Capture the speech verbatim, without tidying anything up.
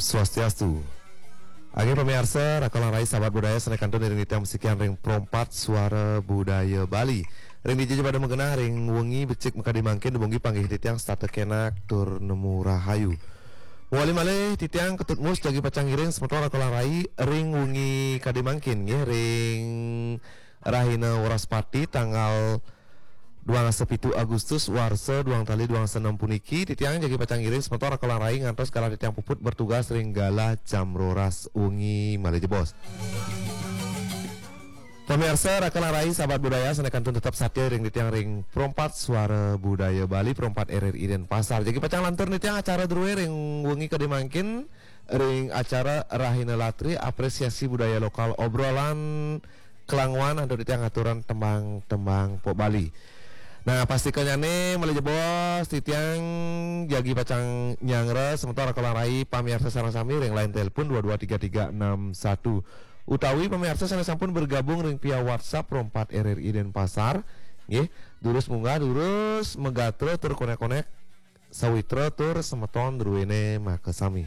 Swastiastu. Ageng pamiarsa, Raka lan Rai sahabat budaya sané kantun iring titiang masikian ring Pro empat Suara Budaya Bali. Ring dija ja pada magenah ring wengi becik makadi mangkin, dumogi panggih titiang setata kénak tur nemu rahayu. Mawali malih titiang Ketut Mus jagi pacang ngiring semeton Raka lan Rai ring wengi kadi mangkin nggih, ring rahina Wraspati tanggal duang dasa pitu Agustus warsa duang tali duang dasa nem puniki, titiang jagi pacang ngiring semeton Raka lan Rai ngantos galah titiang puput bertugas ring galah jam roras wengi malih jebos. Pamiarsa Raka lan Rai sahabat budaya sané kantun tetep satia ring titiang ring Pro empat Suara Budaya Bali, Pro empat R R I Denpasar. Jagi pacang lantur titiang acara drué ring wengi kadi mangkin ring acara Rahina Latri, apresiasi budaya lokal, obrolan kelanguan antuk titiang aturan tembang-tembang pok Bali. Nah, pastika nyané malih jebos titiang jagi pacang nyanggra semeton Raka lan Rai pamiarsa sareng sami ring line telepon dua dua tiga tiga enam satu. Utawi pamiarsa sané sampun bergabung ring via WhatsApp Pro empat R R I Denpasar, nggih, durus munggah, durus magatra tur konék-konék sawitra tur semeton druéné makasami.